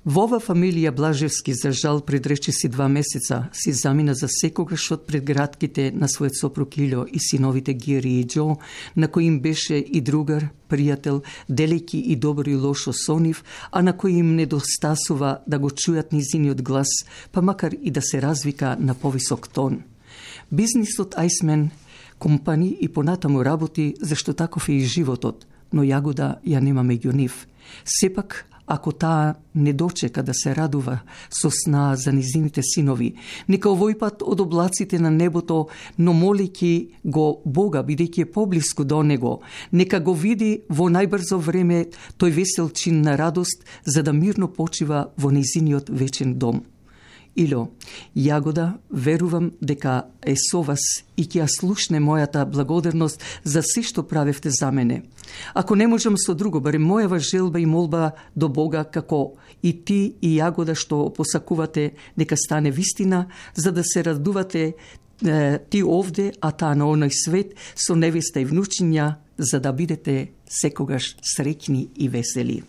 Во ова фамилија Блажевски, за жал, предрече си 2 месеца, си замина за секогаш од предградките на својот сопруг Илјо и синовите Гери и Џо, на кој им беше и другар, пријател, делејќи и добро и лошо со нив, а на кој им недостасува да го чујат низиниот глас, па макар и да се развика на повисок тон. Бизнисот Ајсмен компани и понатаму работи, зашто таков е и животот, но Јагода ја нема меѓу нив. Сепак, ако таа не дочека да се радува со снаа за низините синови, нека овој пат од облаците на небото, но молејќи го Бога, бидејќи е поблиску до него, нека го види во најбрзо време тој весел чин на радост, за да мирно почива во низиниот вечен дом. Ило, Јагода, верувам дека е со вас и ќе ја слушне мојата благодарност за се што правевте за мене. Ако не можам со друго, барем мојава желба и молба до Бога, како и ти и Јагода што посакувате, нека стане вистина, за да се радувате ти овде, а таа на оној свет, со невеста и внучиња, за да бидете секогаш среќни и весели.